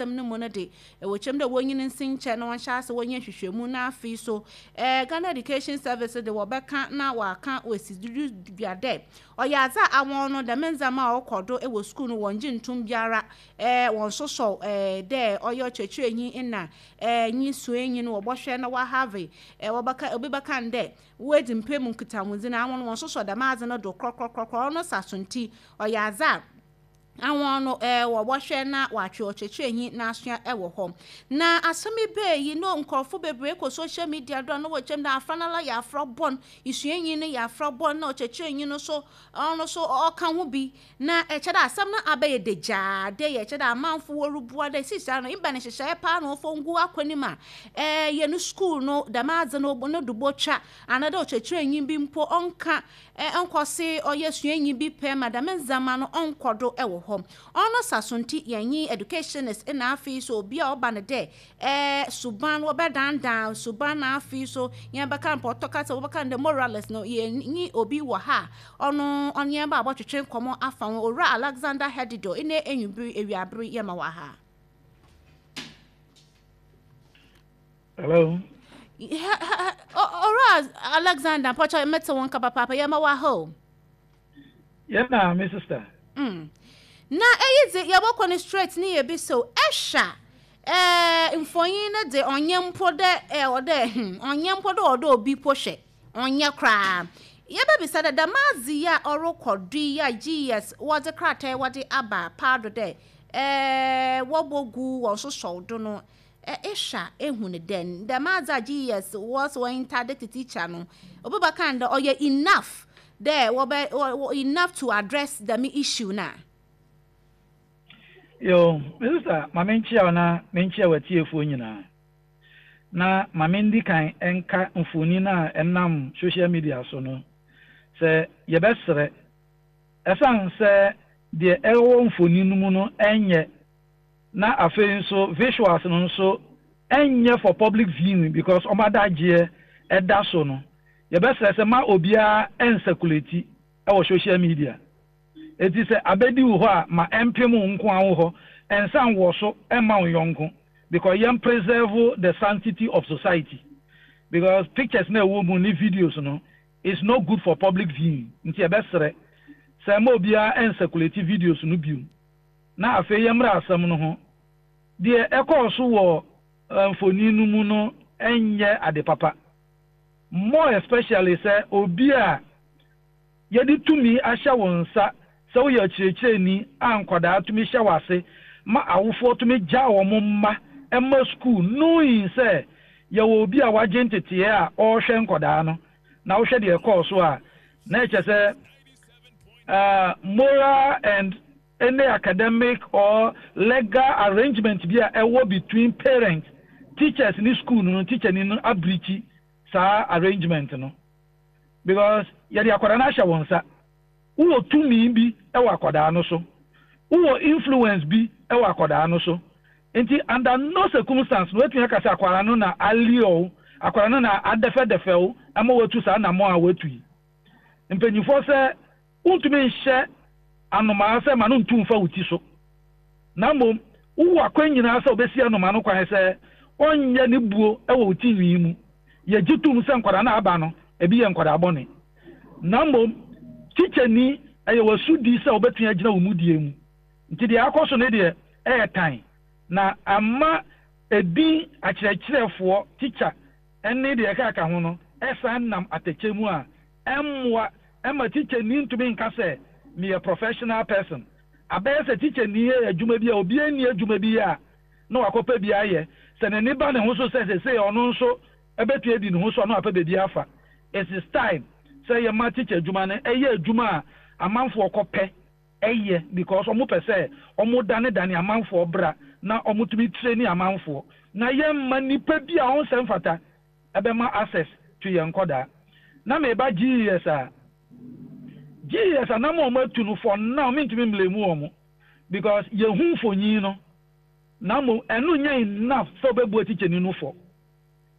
Asɛm no mu no de, wɔkyerɛ mu dɛ wonyin nsi nkyɛn na wɔnhyɛ ase wɔnyɛ nhwehwɛmu na afei so Ghana Education Service de wɔbɛka na wɔaka woesi do dua dɛ ɔyɛ adze a awɔn no dɛm ndzɛmba a ɔkɔ do wɔ skuul no wɔnngye nntom biara, wɔnnsosɔw dɛ ɔyɛ ɔkyerɛkyerɛnyi na nye suanyi no wɔbɔhwɛ na wɔahave wɔbɛka obi bɛka no dɛ woedzi mpɛ mu nkitahodzi no awɔn wɔnnsosɔ dɛm adze no do krɔkrɔkrɔkrɔ. Ɔno saso ntsi ɔyɛ adze a ahɔn no wɔbɔhwɛ na wɔatwe ɔkyerɛkyerɛnyi n'asoa wɔ hɔ. Na asɛm yi baa yi no nkorɔfo beberee kɔ social media do a na wɔrekyerɛ mu dɛ afra no ara yɛ afra bɔn, esuanyi no yɛ afra bɔn na ɔkyerɛkyerɛnyi no so ɔno so ɔka ho bi. Na kyerɛ dɛ asɛm no abɛyɛ dagyaa dɛ yɛ kyerɛ dɛ amanfo worubua dɛ seseiara no ebɛn nhyehyɛɛ paa na wɔmfa ngu akwan mu a hɛn skuul no dɛm adze no no do botwa anaa dɛ ɔkyerɛkyerɛnyi bi mpo ɔnka Ɔnnkɔ se ɔyɛ suanyi bi pɛ ma dɛm ndzɛmba no ɔnnkɔ do wɔ hɔ. Ɔno saso ntsi yɛnye educationist na afei so obi a ɔba no dɛ suban wɔbɛdandan suban na afei so yɛbɛka no pɔtɔ kasa wɔbɛka no dɛ moralist no yɛnye obi wɔ ha a ɔno ɔnye yɛn ba abɔtwetwe nkɔmbɔ afa ho. Owura Alexander Hedido ndɛ ewimbir ewiaber yɛma wɔ ha. Hello. Owura Alexander, mpɔkyɛ mete wo nka papaapa, yɛma wa ha o. Yɛ na me sister. Na eyi dze yɛbɔkɔ no straight ne yɛbi so ɛhwɛ a mfonyin no dze ɔnyɛ mpo dɛ ɔdɛ ɔnyɛ mpo dɛ ɔdɛ obi po hwɛ ɔnyɛ koraa. Yɛbɛbisa dɛ dɛm adze yi a ɔrokɔ do yi a GES wɔdze krataa yi wɔdze aba paado dɛ wɔbɔgu wɔn sosɔw do no Ehwɛ a, ehu no dɛn? Dɛm adze a GES wɔ sɛ wɔ interdict teacher no, obi bɛka no dɛ ɔyɛ enough dɛ wɔbɛ enough to address dɛm issue no a? Yo, me sister, ma menkyea wo na menkyea w'atiefoɔ nyinaa. Na ma mendi kan nka mfonin a ɛnam social media so no sɛ yɛbɛsrɛ, ɛsiane sɛ deɛ ɛwɔ mfonin no mu no nyɛ Na afei nso visuals no nso ɛnyɛ for public viewing because wɔn adagyeɛ ɛda so no, yɛbɛsrɛ sɛ ma obiara ɛnsɛkulati ɛwɔ social media. Enti sɛ abɛdi wo hɔ a ma ɛmpem wo nko ara wo hɔ, ɛnsan wɔ so ɛmma wo yɔnko because yɛn preserve the sanctity of society because pictures no a ɛwɔ mu ne videos no is not good for public viewing nti yɛbɛsrɛ sɛ ma obiara ɛnsɛkulati videos no bio. Na afei yɛmmra asɛm no ho. Deɛ ɛkɔɔ so wɔ mfonin no mu no nyɛ ade papa. More especially sɛ obi a yɛde tumi ahyɛ wo nsa sɛ woyɛ ɔkyerɛkyerɛni a nkwadaa tumi hyɛ w'ase ma awofoɔ tumi gya wɔn mma ma sukuu knowing sɛ yɛwɔ obi a wagye nteteɛ a ɔrehwɛ nkwadaa no na wohwɛ deɛ ɛkɔɔ so a na ɛkyɛ sɛ moral and any academic or legal arrangement bi a ɛwɔ between parents, teachers ne school no no, teacher ni no abreachi saa arrangement no because yɛde akwadaa no ahyɛ wɔn nsa. Wowɔ tumi bi wɔ akwadaa no so. Wowɔ influence bi wɔ akwadaa no so. Nti under no circumstance no watumi aka sɛ akwadaa no na allure wo, akwadaa no na adɛfɛdɛfɛ wo ama watu saa anammɔn a watu yi. Mpanyinfoɔ sɛ Wontumi nhyɛ anomaa sɛ ma no ntu mfa wo ti so, na mmom wowɔ akwan nyinaa sɛ wobɛsi anomaa no kwan sɛ ɔnyɛ ne buo wɔ wo ti nwi mu. Yɛgye tom sɛ nkwadaa no a aba no, ebi yɛ nkwadaa bɔne. Na mmom tikyani, ɛyɛ w'asodi sɛ wobɛtumi agyina wo mudie mu. Nti deɛ akɔ so no deɛ, ɛyɛ tan, na ama edin akyerɛkyerɛfoɔ, tikya, ne deɛ ɛkeka ho no san nam atɛkyɛ mu a, ɛmmoa Ɛmma tikyani ntumi nka sɛ, Meyɛ professional person. Abɛyɛ sɛ tikyani yɛ adwuma bi a obiara nni adwuma bi yɛ a na wakɔpɛ bi ayɛ. Sɛ n'ani ba ne ho so sɛ seesei ɔno nso bɛtumi adi ne ho so a, na wapɛ baabi afa. It is time sɛ yɛma tikya adwuma no yɛ adwuma a amanfoɔ kɔpɛ yɛ because wɔpɛ sɛ wɔdanedane amanfoɔ bra na wɔtumi traini amanfoɔ. Na yɛmma nipa bi a ɔnsɛ mfata ɛbɛma access to yɛn nkɔdaa. Na meba GES a, GES anam a wɔn atu no for now mentumi mblame wɔn because yɛhu mfonyin no na mmom ɛno nyɛ enough sɛ wobɛbua tikyani no fɔ.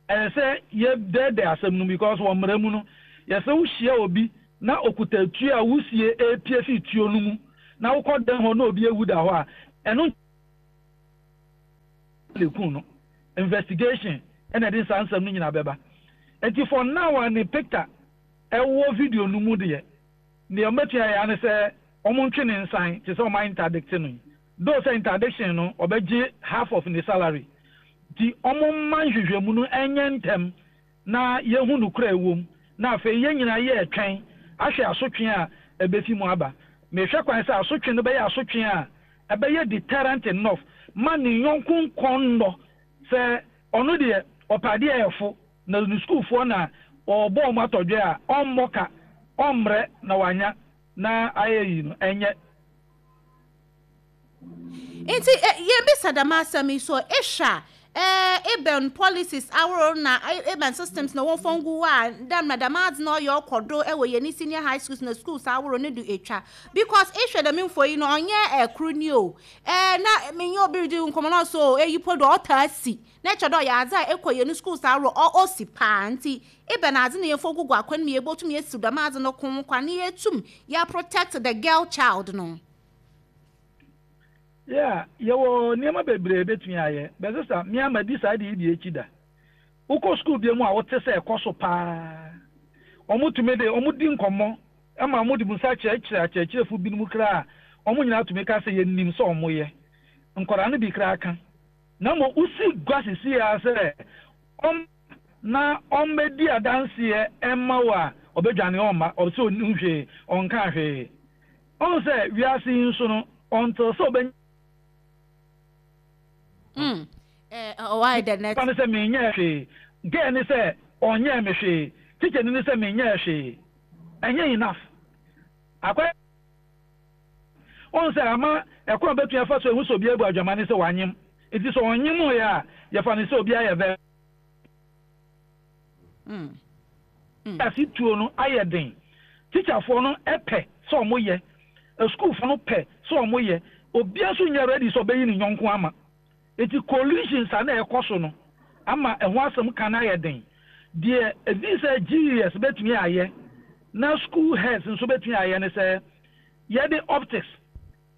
Ɛyɛ sɛ yɛdɛɛdɛɛ asɛm no mu because wɔ mmara mu no yɛsɛ wohyia obi na okuta tuo a wusie repie fi tuo no mu na wokɔ dan hɔ na obi awu da hɔ a ɛno. na ekum no. Investigation na ɛde saa nsɛm no nyinaa bɛba. Nti for now a ne picture ɛwɔ video no mu deɛ, deɛ wɔbɛtumi ayɛ ara ne sɛ wɔntwe ne nsan te sɛ wɔn a interdict no yi. Though sɛ interdiction no ɔbɛgye half of ne salary. Nti wɔmma nhwehwɛmu no nyɛ ntɛm na yɛahu nokorɛ a ɛwɔ mu, na afei yɛn nyinaa yɛretwɛn ahwɛ asotwe a ɛbɛfi mu aba. Mehwɛ kwan sɛ asotwe no bɛyɛ asotwe a ɛbɛyɛ deterrent enough ma ne yɔnko nkɔnnɔ sɛ ɔno deɛ ɔpɛ adeɛ a ɛfo na ne sukuufoɔ na ɔrebɔ wɔn atɔdwɛ a ɔmmɔ ka, ɔmmrɛ na wanya na ayɛ yi no, ɛnyɛ. Ntsi yebisa dɛm asɛm yi so, ehwɛ a, ebɛn policies ahorow na ebɛn systems na wɔmfa ngu hɔ a dɛ mbrɛ dɛm adze no ɔyɛ ɔkɔ do wɔ hɛn senior high schools na schools ahorow no do etwa? Because ehwɛ dɛm mfonyin no, ɔnnyɛ kor ni o, na menye obi ridzi nkɔmbɔ na ɔse oh eyi po do ɔtaa si, na kyerɛ dɛ ɔyɛ adze a ekɔ hɛn schools ahorow osi paa. Ntsi ebɛn adze na yɛmfa ngugu akwan mu yebotum esiw dɛm adze no ko kwan na yeetum yɛaprotect the girl child no? Yeah, yɛwɔ nneɛma bebree a yɛbɛtumi ayɛ. But sister, me ara madi saa ade yi bi akyi da. Wokɔ sukuu bi mu a wote sɛ ɛkɔ so paa. Wɔtumi de, wɔdi nkɔmmɔ ma wɔde mu nsa kyerɛkyerɛ akyerɛkyerɛfo binom koraa a, wɔn nyinaa tumi ka sɛ yɛnim sɛ wɔyɛ. Nkwadaa no bi koraa ka. Na mmom wosi gua sisi ara sɛ wɔn na wɔmmɛdi adanseɛ mma wo a, ɔbɛdwane ɔmma, ɔsɛ ɔnnim hwee, ɔnkaa hwee. Ɔhu sɛ wiase yi nso no, ɔntew sɛ ɔbɛnya. Mm, eh, why the net? Nipa no sɛ menyɛɛ hwee, girl no sɛ ɔnyɛɛ me hwee, tikyani no sɛ menyɛɛ hwee. Ɛnyɛ enough. Akwa Ɔhu sɛ ama ɛkwan a ɔbɛtumi afa so ahu sɛ obi abu adwaman ne sɛ wanyem. Nti sɛ ɔnyemoeɛ a, yɛfa no sɛ obi ayɛ vɛ. Ase tuo no ayɛ den. Tikyafoɔ no pɛ sɛ ɔmo yɛ, asukuufoɔ no pɛ sɛ ɔmo yɛ, obia nso nyɛ ready sɛ ɔbɛyi ne yɔnko ama. Nti collisions a na ɛkɔ so no ama ɛho asɛm ka no ayɛ den. Deɛ ɛfii sɛ GES bɛtumi ayɛ na school heads nso bɛtumi ayɛ ne sɛ yɛde optics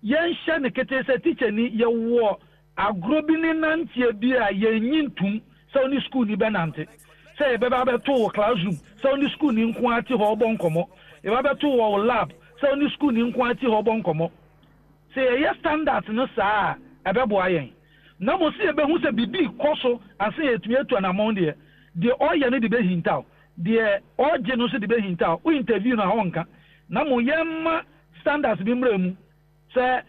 Yɛnhyɛ no ketee sɛ tikyani, yɛwɔ agorɔ bi ne nanteɛ bi a yɛnnye ntom sɛ wo ne sukuuni bɛnante. Sɛ yɛbɛba abɛto wo classroom sɛ wo ne sukuuni nko ara te hɔ rebɔ nkɔmmɔ. Yɛbɛba abɛto wo wɔ wo lab sɛ wo ne sukuuni nko ara te hɔ rebɔ nkɔmmɔ. Sɛ yɛyɛ standards no saa a, ɛbɛboa yɛn. Na mmom sɛ yɛbɛhu sɛ biribi rekɔ so ansa na yɛatumi atu anammɔn deɛ, deɛ ɔreyɛ no de bɛhintaw, deɛ ɔregye no nso de bɛhintaw. Wo interview no a, ɔrenka. Na mmom yɛmma standards bi mmra mu sɛ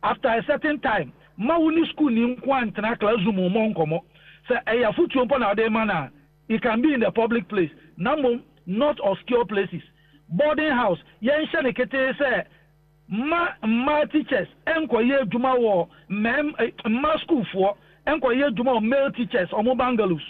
after a certain time mma wo ne sukuuni nko ara ntena classroom mmɔ nkɔmmɔ. Sɛ ɛyɛ afotuo mpo na wode rema no a, it can be in the public place na mmom not obscure places. Boarding house, yɛnhyɛ no ketee sɛ mma mmaa teachers nkɔyɛ adwuma wɔ mmarima, mmaa sukuufoɔ nkɔyɛ adwuma wɔ male teachers wɔn bungalows.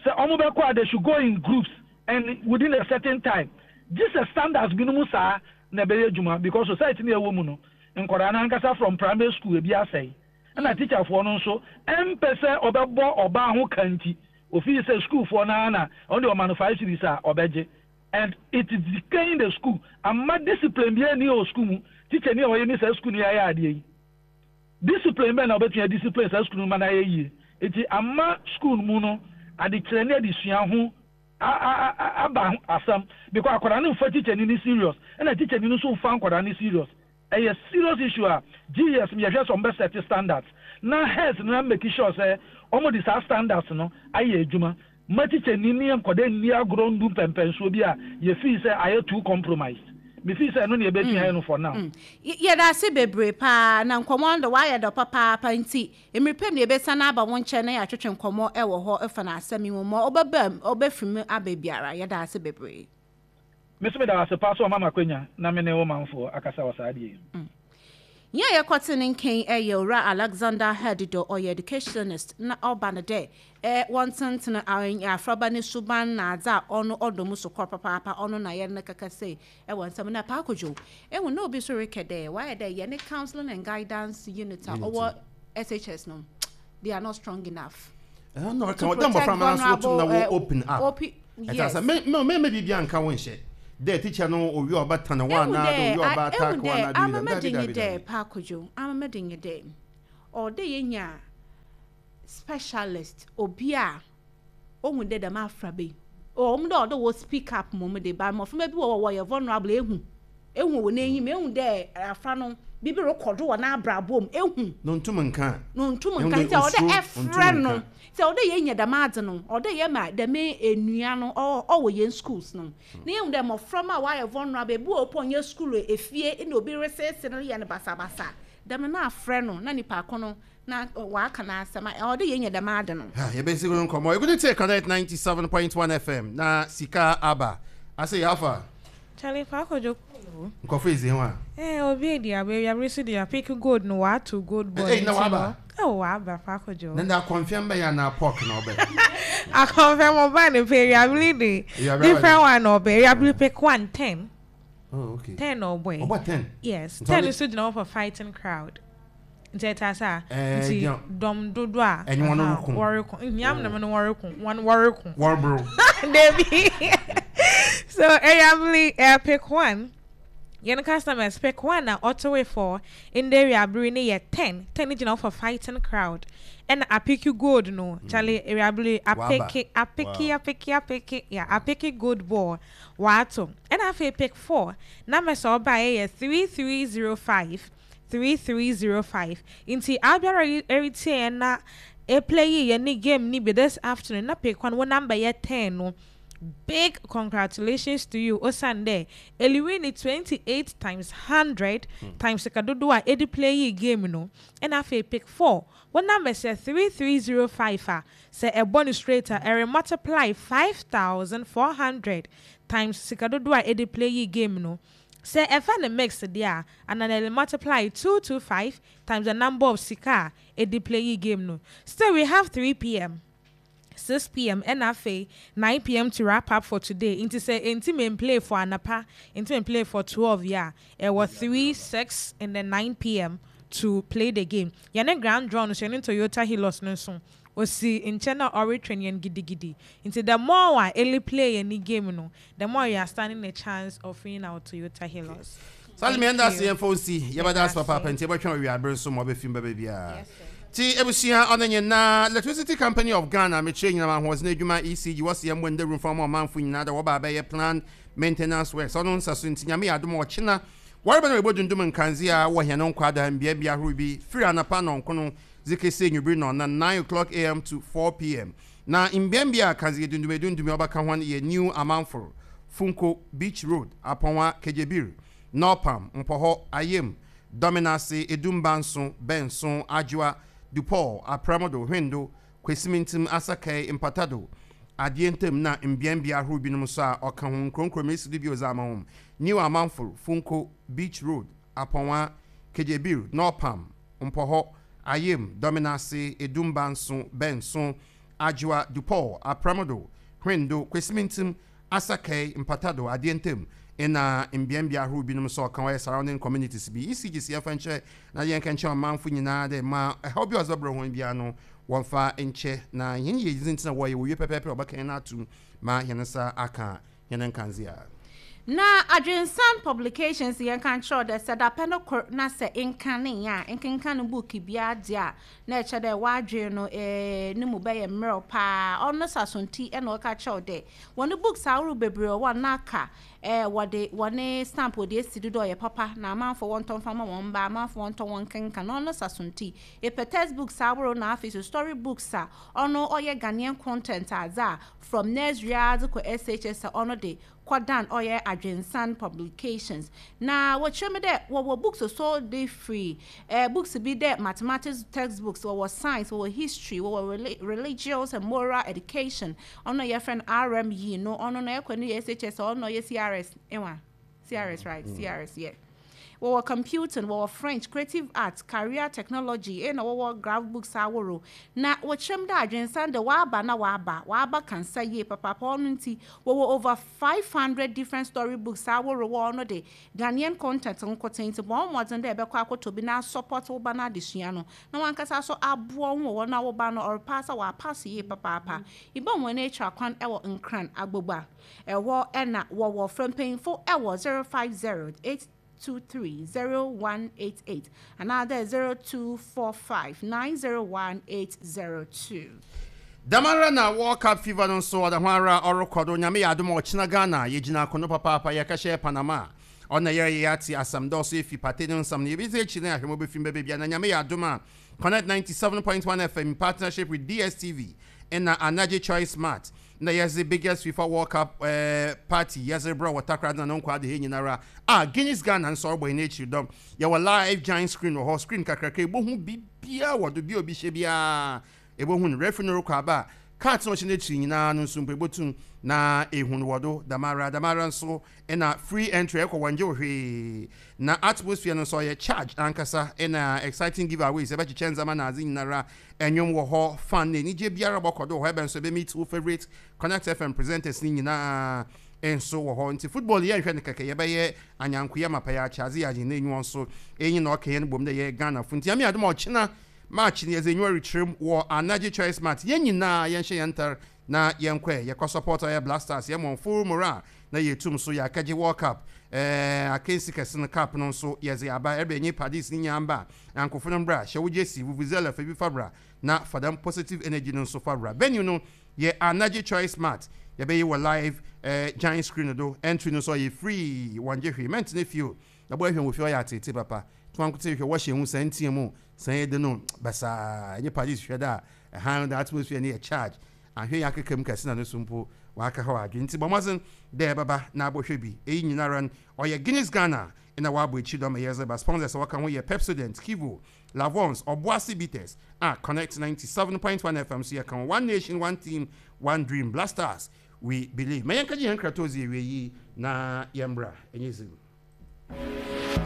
Sɛ ɔmo bɛkɔ a they should go in groups and within a certain time. Gye sɛ standards binom saa na ɛbɛyɛ adwuma because society no a yɛwɔ mu no nkwadaa no ankasa from primary school ebi asɛe ɛna teacher foɔ no nso ɛmpɛ sɛ ɔbɛbɔ ɔbaa ho ka nti ofii sɛ school foɔ no ara na ɔno deɛ ɔma no five cedis a ɔbɛgye and it is decaying the school amma discipline biara nni wɔ school mu teacher ni a ɔyɛ ne saa school no yɛ ayɛ adeɛ yi. Discipline bɛn na wobɛtumi a discipline saa sukuu no ma no ayɛ yie? Enti ama sukuu no mu no adekyerɛ ne adesua ho aba asɛm because akwadaa no mfa tikyani no serious ɛna tikyani no nso mfa nkwadaa no serious. Ɛyɛ serious issue a GES yɛhwɛ sɛ wɔbɛ set standards na heads no make sure sɛ wɔde saa standards no ayɛ adwuma Mma tikyani ne nkwadaa nni agorɔ nnu mpɛnpɛnsoɔ bi a yɛfii sɛ ayɛ too compromised. Mefii sɛ ɛno na yɛbɛtumi ayɛ no for now. Yɛda ase bebree paa, na nkɔmmɔ no de wayɛ dɔ papaapa nti mmere pɛ mu na yɛbɛsan aba wo nkyɛn na yɛatwetwe nkɔmmɔ wɔ hɔ fa no asɛm yi ho ma ɔbɛba mu, ɔbɛfiri mu aba biara. Yɛda ase bebree. Me nso meda wo ase paa sɛ wama me akwanya na me ne wo manfoɔ akasa wɔ saa adeɛ yi ho. Nyia yɛkɔtse ne nkɛn yɛ Owura Alexander Hadido, ɔyɛ educationist na ɔba no dɛ wɔntsentsen afraba ne suban na adze a ɔno ɔdɔ mu sokɔr papaapa, ɔno na yɛne no kɛkɛsɛe wɔ nsɛm na Paa Kojo ehu na obi so rekɛ dɛ wɔayɛ dɛ yɛne counselling and guidance unit a ɔwɔ SHS no they are not strong enough to protect vulnerable Yes. Ɛsɛ me me me biribi anka wo nhyɛ. Dɛ teacher no owie ɔba tan wo anaa dɛ owie ɔba attack wo anaa biribi dɛm. Dabi dabi dabi. Paa Kojo, amama de nye dɛ ɔwɔ dɛ yenya. Specialist, obi a ohu dɛ dɛm afraba yi, ɔwɔ mu dɛ ɔwɔ dɛ wɔ speak up mbom de, but mboframba bi wɔ hɔ a wɔyɛ vulnerable, ehu, ehu wɔ n'enyim, ehu dɛ afra no biribi rokɔ do wɔ n'abrabɔ mu, ehu. Na onntum nnka. Na onntum nnka, ntsi ɔwɔ dɛ efrɛ no, ntsi ɔwɔ dɛ yenya dɛm adze no, ɔwɔ dɛ yɛma dɛm enua no ɔwɔ hɛn schools no, na yehu dɛ mboframba a wɔayɛ vulnerable, bi wɔ hɔ mpo a ɔnnyɛ skuul o, efie na obi reseesee no reyɛ no basabasa, dɛm no na afrɛ no na nyimpa ko no na ɔaka n'asɛm a, ɔwɔ dɛ yenya dɛm ade no. Ha, yɛbɛsi ho nkɔmmɔ. Yɛgu tie Connect 97.1 FM na sika aba. Ase yɛ afa. Charlie fa akɔdwo kolo. Nkɔfo edzi ho a. Eh, obi edi aba ewiabere so de apik gold no wato gold boy. Ei, na waba. Oh, waba fa akɔdwo. Na na akɔnfɛm bɛyɛ anaa pork na ɔbɛ. Akɔnfɛm ɔba ne pɛ ewiabere de. Different one na ɔbɛ. Ewiabere pick 1 10. Oh, okay. 10 na ɔbɔ. Ɔbɔ 10. Yes, 10 nso gyina hɔ for fighting crowd. Nti ɛtaa saa. Nti dɔm dodo a. Ɛnye wɔn reko. Wɔreko. Nyiam na no wɔreko. Wɔn wɔreko. Wɔreboro. Debi. So Eriabili pick one. Yɛn customers pick one na ɔtowe for ndɛ ewiabere ne yɛ 10. 10 ne gyina hɔ for fighting crowd. Ɛna apiki gold no. Charlie Eriabili apiki apiki apiki apiki yeah apiki gold ball wato. Ɛna afei pick 4. Numbers a ɔbaeɛ yɛ 3305. 3305 nti abiara eretie yɛn na eplay yi yɛn ne game ni bi this afternoon na pick one wo number yɛ 10 no, big congratulations to you, osan dɛ eliwin ni 28 times 100 times sika dodoɔ a edi play yi game no. Ɛna afei pick 4, wo number sɛ 3305 a, sɛ ɛbɔ no straight a, ɛre multiply 5400 times sika dodoɔ a edi play yi game no. Sɛ ɛfa ne mix deɛ a, ana na ɛre multiply 225 times the number of sika a edi play yi game no. Still we have 3 p.m., 6 p.m. ɛna afei 9 p.m. to wrap up for today. Nti sɛ enti me play for anapa, enti me play for 12 yeah, ɛwɔ 3, 6 and then 9 p.m. to play the game. Yɛne grand draw no so, yɛne Toyota Hilux no nso osi nkyɛn a ɔretwɛn yɛn gidigidi. Nti the more a early play yɛn game no, the more you are standing a chance of winning our Toyota Hilux. Sáré mi ɛnda ase yɛn fɔ nsi yɛbɛda ase papaapa nti yɛbɛtwɛn owia abere nso ma ɔbɛfim bɛbɛ biara ti ebusua ɔno nyinaa. Electricity Company of Ghana, mekyerɛ nyinam ahoɔden adwuma ECG, wɔsi yɛn mbɔ ndawuro mfa ma ɔmanfo nyinaa dɛ wɔba abɛyɛ plan maintenance works. Ɔno nsa so nti Nyame yɛ adom a ɔkyena wɔreba na wɔbɔ dundum nkanzea wɔ hɛn nkwadaa mbea ahorow bi firi anapa nɔnkono dze kesi enwibiri nɔnna, 9 o'clock am to 4 p.m. Na mbeambea a kanzea dundum edundum a ɔbɛka ho yɛ New Amanforo, Funko, Beach Road, Apɔnwa, Kegyebir, Nɔpam, Mpɔhɔ, Ayem, Dɔmenase, Edumbanso, Bɛnso, Adwoa, Dupɔl, Aprɛmodo, Hwendo, Kwesimintim, Asakae, Mpatado, Adeɛ Ntam na mbeambea ahorow binom nso a ɔka ho. Nkuronkuro mesi do bio dze ama hom: New Amanforo, Funko, Beach Road, Apɔnwa, Kegyebir, Nɔpam, Mpɔhɔ, Ayem, Dɔmenase, Edumbanso, Bɛnso, Adwoa, Dupɔl, Aprɛmodo, Hwendo, Kwesimintim, Asakae, Mpatado, Adeɛ Ntam na mbeambea ahorow binom nso a ɔka ho yɛ surrounding communities bi. ECG si yɛmfa nkyɛ na yɛnka nkyerɛ ɔmanfo nyinaa dɛ ma ɛhaw bi a ɔdze bɛbrɛ hɔn biara no wɔmfa nkyɛ na hɛn yiyedzi ntsi na wɔyɛ wɔwie pɛpɛɛpɛ a wɔbɛka hɛn ato ma hɛn nsa aka hɛn nkandzea. Na Adwensan Publications, yɛn ka nkyerɛw dɛ sɛ dapɛ no kor na sɛ nkane a nkenkan no book biara deɛ a, na ɛkyɛ dɛ w'adwen no ne mu bɛyɛ mmerɛw paa. Ɔno sasonti ɛna ɔka kyerɛw dɛ wɔne books ahorow bebree wɔ hɔ a na aka wɔde wɔne stamp wɔde esi do dɛ ɔyɛ papa na amanfo wɔntɔ mfa ma wɔn mba, amanfo wɔntɔ wɔn nkenkan. Ɔno sasonti epɛ textbooks ahorow na afei so story books a ɔno ɔyɛ Ghanaian content adze a from nursery ara dze kɔ SHS a, ɔno de kɔdan ɔyɛ Adwensan Publications. Na wɔkyerɛ mu dɛ wɔwɔ books so de firi books bi dɛ mathematics textbooks, wɔwɔ science, wɔwɔ history, wɔwɔ religious and moral education, ɔno yɛfrɛ no RME no. Ɔno no ɛkɔ no yɛ SHS, ɔno yɛ CRS ewa CRS, right? CRS, yeah. Wɔwɔ computing, wɔwɔ French, creative arts, career technology, ɛna wɔwɔ graph books ahorow. Na wɔkyerɛ mu dɛ Adwensan de waba na waba kansa yie papaapa. Ɔno nti wɔwɔ over 500 different story books ahorow wɔ ɔno de Ghanaian content nkoten, nti bɔn mmɔden dɛ ɛbɛkɔ akɔtɔ bi na support wo ba no adesua no na wankasa so aboa wo wɔ na wo ba no ɔrepaasa wɔapaase yie papaapa. Ibɔ wɔn akyi kwan ɛwɔ Nkran Agbogba ɛhɔ, ɛna wɔwɔ frɛ mpanyinfo ɛwɔ 050 8. 23 0188 anaadɛ 0245 901 802. Dɛm ara na World Cup fever no nso ɔda ho ara ɔrokɔ do. Nyame yɛ adom a ɔkyena Ghana yɛgyina akono papaapa yɛkɛhyɛ Panama a ɔna yɛreyɛ yɛate asɛm dɛ ɔso efi Partey no nsɛm no yɛbedzi ekyir na yɛahwɛ ma obefim bɛba bia na Nyame yɛ adom a Connect 97.1 FM in partnership with DSTV na Anagye Choice Mart na yɛdze biggest FIFA World Cup eh, party yɛdze rebrɛ wɔ Takoradi na no nkwa adehye nyinara a Guinness Ghana nso ɔrobɔ hɛn ekyir dɔm. Yɛwɔ live giant screen wɔ hɔ, screen kakraka ebohu biribiara wɔ do, bia obi hyɛ biara ebohu no. Referee no rokɔ aba a, cards na ɔhyɛ n'ekyir nyinaa no nso mpo ebotum na ehu no wɔ do dɛmara. Dɛmara nso na free entry ɛkɔ wɔnngye wo hwee. Na atmosphere no nso ɔyɛ charged ankasa na exciting giveaways yɛbɛkyekyɛ ndzɛmba na adze nyinara. Ndwom wɔ hɔ, fun na enyigye biara bɔkɔ do wɔ hɔ. Ebɛn so ebe-meet wo favourite Connect FM presenters ne nyinaa nso wɔ hɔ. Ntsi football yi yɛnnhwɛ no kɛkɛ, yɛbɛyɛ anyankoyɛ mapa, yɛakyɛ adze, yɛagye hɛn enyiwa nso. Iyi na ɔka hɛn bɔ mu dɛ yɛyɛ Ghanafo. Ntsi Nyame adom a ɔkyena March no yɛdze enyiwa rekyerɛ mu wɔ Anagye Choice Mart. Hɛn nyinaa yɛnhyɛ hɛn ntar na yɛnkɔ ɛ, yɛkɔ support ɔyɛ Black Stars, yɛma hɔn full morale na yeetum so yɛakɛgye World Cup eh, akansi kɛse no cup no nso yɛdze aba. Ɛreba enye Padis ne nyinaa mba a, anyankofo no mbra, hyɛ wo jersey, vuvuzela fa bi fa bra na fa dɛm positive energy no nso fa bra. Venue no yɛ Anagye Choice Mart, yɛbɛyɛ wɔ live eh, giant screen do, entry no nso ɔyɛ free, wɔnngye hwee, mɛntsena fie o, na bɔ ehwɛ wɔ fie ɔyɛ atseetsee papa, to ankotsee hwɛ wɔhyɛ hu sɛn tsia mu sɛn ede no basaa, enye Padis hwɛ dɛ a ɛhan no the atmosphere no yɛ charge. Annhwɛ yi akeka mu kɛse na no so mpo ɔakɛhaw adwen. Ntsi bɔ mbɔdzen dɛ ebɛba na abɔhwɛ bi. Iyi nyinara no, ɔyɛ Guinness Ghana na wɔabɔ ekyir do ama yɛdze ba. Sponsors a wɔka ho yɛ Pepsodent, Kivo, Lavons, Obuasi Bitters, a Connect 97.1 FM so yɛka ho, One Nation, One Team, One Dream, Blasters, We Believe. Ma yɛnkɛgye hɛn nkratoɔ dze ewie yi na yɛmbra. Ɛnyɛ dzin.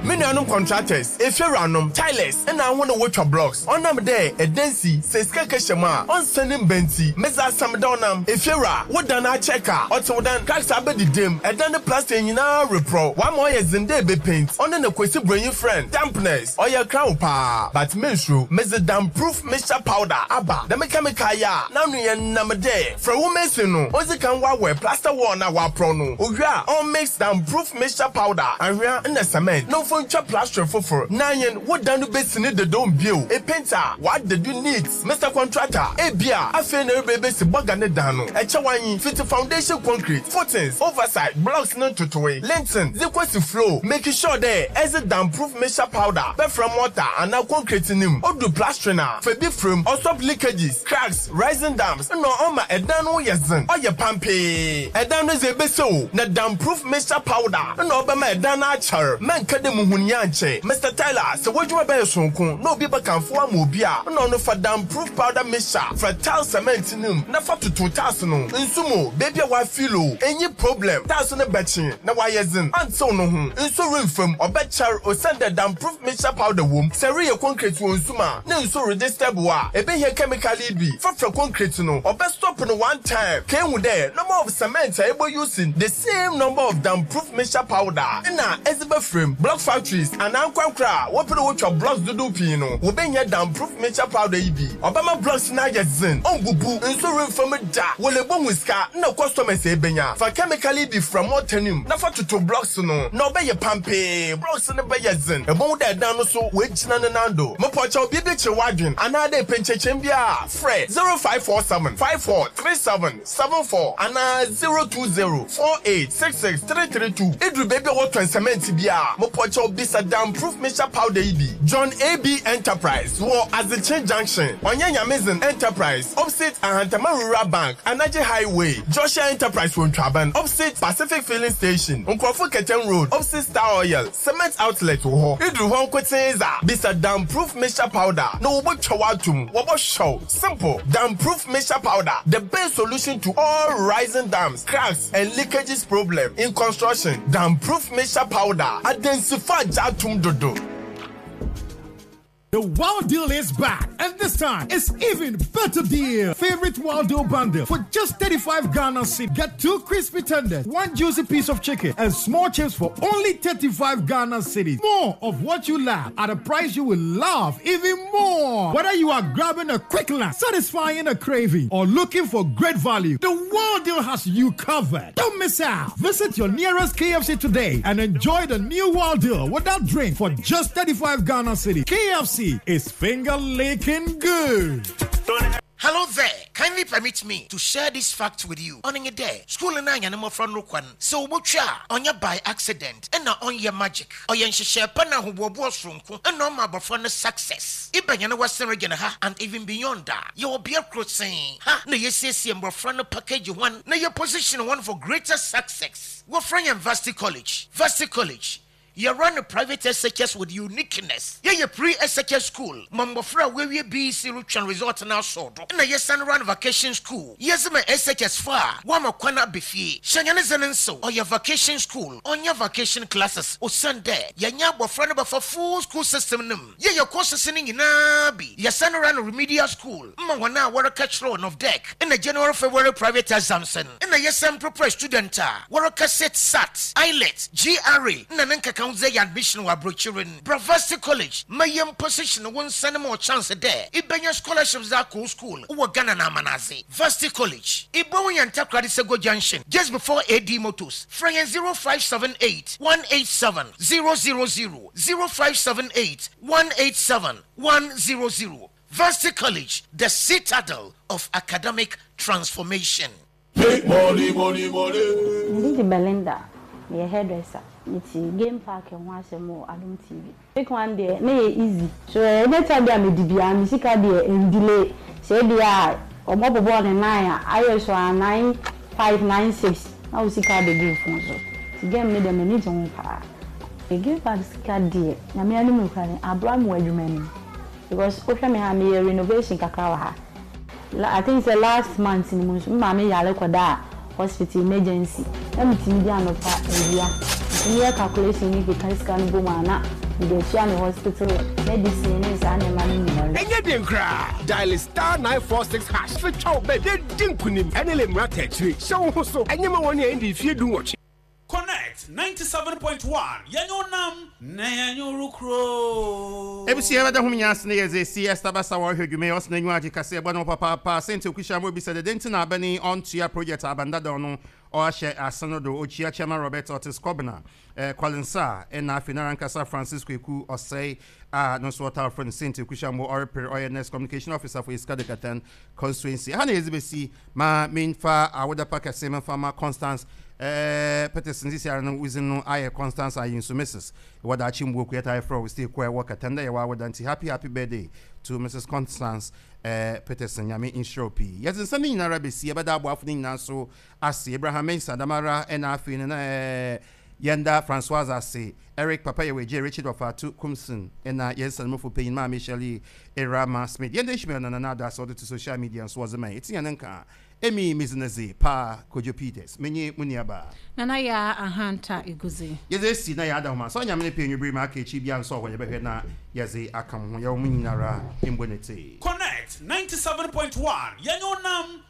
Me nuanom contractors, efiewuranom, tilers, nna hɔn a wotwa blocks, ɔnam dɛ dan si, sɛ sika kɛhyɛ mu a, ɔnnsan mmba ntsi, medze asɛm da ɔnam. Efiewura, wo dan akyɛr ka, ɔtsew dan, cracks abɛdeda mu, dan ne plaster nyina reprɔw, wɔama ɔyɛ dzen dɛ ebepaint, ɔno na Kwesi Bronyi frɛ no dampness, ɔyɛ kraw paa, but mennsuro, medze damp-proof mixture powder aba, dɛm chemical yi a n'ano yɛ nam dɛ. Frɛ wo mason no ondzi kan wɔawɛ plaster wall no a wɔaprɔw no, owie a ɔnmix damp-proof mixture powder, anhwea na cement na ɔmfa ntwa plastering fofor na anyen wo dan no besi ne dedaw mu bio. Epaint a wɔada do neat, Mister Contractor, ebia afei na ereba ebesi bɔga ne dan no, ɛkyɛ w'anyi, fitsi foundation concrete, footings, oversite, blocks no ntotowee, linting, dze kosi floor, make sure dɛ edze damp-proof mixture powder bɛfra mortar anaa concrete no mu, odu plastering a, fa bi fra mu, ɔstop leakages, cracks, Rising dams nna ɔma dan no yɛ dzen, ɔyɛ pampee. Dan no dze ebesi o, na damproof mixture powder nna ɔbɛma dan no akyɛr. Mɛnka dɛ muhun yi annkyɛ. Mister Tyler, sɛ w'edwuma bɛyɛ soronko na obi bɛkamfo wo ama obi a, nna ɔno fa damproof powder mixture fra tile cement no mu na fa toto tiles no nsu mu o, beebi a wɔafill o, nnyi problem, tiles no bɛkye na wɔayɛ dzen, anntsew no ho, nsu remmfa mu, ɔbɛkyɛr osiandɛ damproof mixture powder wɔ mu. Sɛ ereyɛ concrete wɔ nsu mu a, ne nsu redisturb wo a, ebehia chemical yi bi fafra concrete no, ɔbɛ stop no one time, ka ehu dɛ number of cement a ebɔ use no, the same number of damp proof mixture powder na edze bɛfra mu. Block factories anaa ankorankor a wɔpɛ dɛ wotwa blocks dodow pii no, wobehia damp proof mixture powder yi bi. Ɔbɛma blocks no ayɛ dzen, onnbubu, nsu remmfa mu da, wole bohu sika na customers a ebenya. Fa chemical yi bi fra mortar no mu na fa toto blocks no na ɔbɛyɛ pampee, blocks no bɛyɛ dzen, ebohu dɛ dan no so oegyina ne nan do. Mepɔkyɛw biribi kyer w'adwen anaadɛ epɛ nkyerɛkyerɛmu biara a, frɛ 0547 54 37 74 anaa 020 48 66 332. Idur beebi a wɔtɔn cement biara a, mopɔkyɛw bisa Damproof Mixture Powder yi bi. John A. B. Enterprise wɔ Adzekye Junction, Ɔnnyɛ Nyamedzen Enterprise, opposite Ahantama Rural Bank, Anagye Highway, Joshua Enterprise wɔ Ntwaban, opposite Pacific Filling Station, Nkorɔfo Kɛtɛn Road, opposite Star Oil. Cement outlet wɔ hɔ. Idur hɔ nkotsee dza, bisa Damproof Mixture Powder na wobotwa wo ato mu. Wɔbɔhwɛ wo. Simple. Damproof Mixture Powder, the best solution to all rising dams, cracks and leakages problem in construction. Damproof Mixture Powder, adansifo agye atom dodo. The Wild Deal is back, and this time it's even better deal. Favorite Wild Deal bundle for just 35 Ghana cedis. Get two crispy tenders, one juicy piece of chicken, and small chips for only 35 Ghana cedis. More of what you love at a price you will love even more. Whether you are grabbing a quick lunch, satisfying a craving, or looking for great value, the Wild Deal has you covered. Don't miss out. Visit your nearest KFC today and enjoy the new Wild Deal without drink for just 35 Ghana cedis. KFC is finger licking good. Hello there. Kindly permit me to share this fact with you. On a day, school and I am from Rukwan. So, Mucha, on your by accident, and not on your magic. Or yen share pana who was from and no my success. Ibanyana Western region ha and even beyond that. You will be a crossing. Ha, no, yes, yes, package one, na your position one for greater success. We're from Varsity College. Varsity College. You run a private SHS with uniqueness. Yeah, you pre SHS school. Mambofra where we BC Ruchan Resort now so. And yes, and run vacation school. Yes, my SHS far. Wama kwana bifie. Shanyane so or your vacation school. On your vacation classes. O Sunday. Yanya bofra for full school system num. Yeah, your courses in nabi. Yes, and run remedial school. Mama wana catch loan of deck. In the January February private exams. In the yes, and prepare student. Waraka set SAT, IELTS, GRE, Nananka Council admission wa brochurin. Bravasti College, mayem position one send more chance there. Ibenya scholarships that cool school. Uwa Ghana na manazi. Varsity College. Ibo yan Sego Junction. Just before AD Motors. Frame 0578 187 000 0578 187 100. Varsity College, the citadel of academic transformation. Make money, money, money. Ndidi Belinda, my hairdresser. Nti game park ho asɛm wɔ Adom TV. Pick one deɛ na yɛ easy. So anytime bi a medi bia me sika deɛ ndile. Sɛ bi a ɔmɔ bɔbɔ ne 9 a ayɛ so a 9 5 9 6 na wo sika bɛgu phone so. Ti game ne deɛ m'ani gye ho paa. Game park sika deɛ nyame anim kura ne abra mu adwuma ni. Because wohwɛ me ha meyɛ renovation kakra wɔ ha. I think say last month ni mu nso maame yare kɔda hospital emergency. Na metumi di anɔpa awia. Nti meyɛ calculation ni keka sika no bɔ mu a na mede atua me hospital medicine ne saa nneɛma no nyinaa. Ɛnyɛ den koraa. Dial star 946 hash. Fetwa wo bɛ de di nkonim. Ɛne le mmara ta akyire. Hyɛ wo ho so. Ɛnyɛ ma wɔn a ɛndi mfie 18. Connect 97.1 Yanyo nam na yanyo rukro. ABC yɛbɛda ho nyinaa ase ne yɛdze si Esther Basa wɔrehwɛ dwuma yi ɔsena nwa agye kase ɛbɔ no papaapa sɛnti okuhyia mo bi sɛ dede nti na abɛne ɔntua project abandada no ɔahyɛ ase no do okyia chairman Robert Otis Kobna Colin Sa ɛna afei nara nkasa Francisco Eku ɔsɛe a no nso ɔtaa frɛ no sɛnti okuhyia mo ɔrepere ɔyɛ next communication officer for Esika de Katan constituency ha na yɛdze bɛsi ma memfa awodapa kɛse memfa ma Constance Peterson sisi ara no wozin no ayɛ Constance Ayinso Mrs. Wɔda akyi mbuo kuyɛta ayɛfrɛ wo stay kɔ ɛwɔ Katan dɛ yɛwɔ awoda nti happy happy birthday to Mrs. Constance Peterson nyame nhyira wo pii yɛdze nsɛm no nyinara bɛsi yɛbɛda aboafo no nyinaa so ase Abraham Mensah damara ɛna afei no na yɛnda Francois ase Eric Papa Yɛwɛgye Richard Ɔfaatu Kumson ɛna yɛn nsanmufo panyin Maame Shirley Erama Smith yɛnda Ishmael na Nana Ado ase ɔde to social media nso wɔdze ma yɛ ɛti yɛn nka Emi Mizinezi pa Kojo Peters menye mu nuaba Nana ya ahanta iguzi. Yɛdze esi na yɛada homa sɛ ɔnyame ne pɛ nwibiri ma aka akyi bia nso ɔhɔ yɛbɛhwɛ na yɛdze aka mo ho yɛwɔ mo nyinara mbɔ ne tee. Connect 97.1 Yanyo nam.